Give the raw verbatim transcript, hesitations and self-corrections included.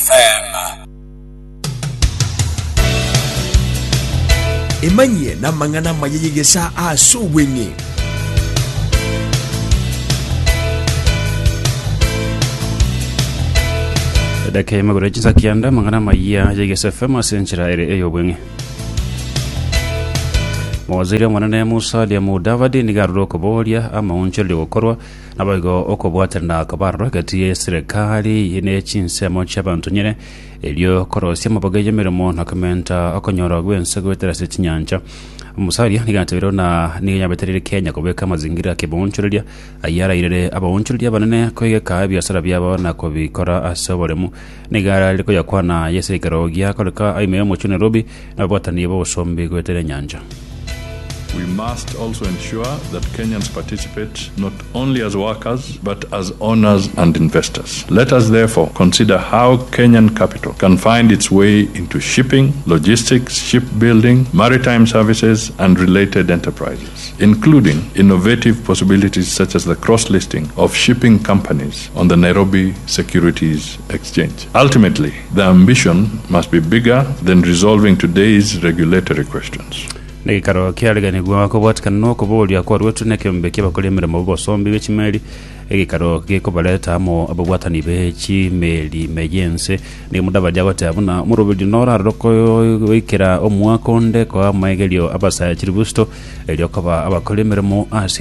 FM. Emanyie n'amang'ana amaya y'egesaa ase obweng'e. Edaka y'amagoro ya chinsa kianda amang'ana amaya ya Egesa FM ase enchera ere ey'obweng'e. Mowaziri omonene Musalia Mudavadi nigo arure okoboria amaonchorerio gokorwa naboigo okobwaterana kobarorwa egati ya eserekari ne chinsemo chi'abanto nyene erio korosia amaboga y'emeremo na komenta okonyora gwense goetera ase chinyancha. Musalia nigo atebirie buna nigo yabetereire Kenya kobeka amazingira akeboonchoreria ayio arairere abaonchoreria abanene koigeka ebiasara biabo na kobikora ase oboremu. Nigo ararire koyakwana aye ase ekero giakoreka ime y'omochie o Nairobi na ababwatani b'obosombi goetera enyancha. We must also ensure that Kenyans participate not only as workers but as owners and investors. Let us therefore consider how Kenyan capital can find its way into shipping, logistics, shipbuilding, maritime services, and related enterprises, including innovative possibilities such as the cross listing of shipping companies on the Nairobi Securities Exchange. Ultimately, the ambition must be bigger than resolving today's regulatory questions. Negeikaro kiareganigwa kobwatikana na okoboria kwarwetwe na ekeombe ki'abakori emeremo b'obosombi bwe chimeli, egeikaro gekobareta amo ababwatani be chimeli ime y'ense. Nigo Mudavadi agoteba buna omoroberio norarore goikera omwaka onde koa amaegerio abasae chiribusito erio koba abakori emeremo ase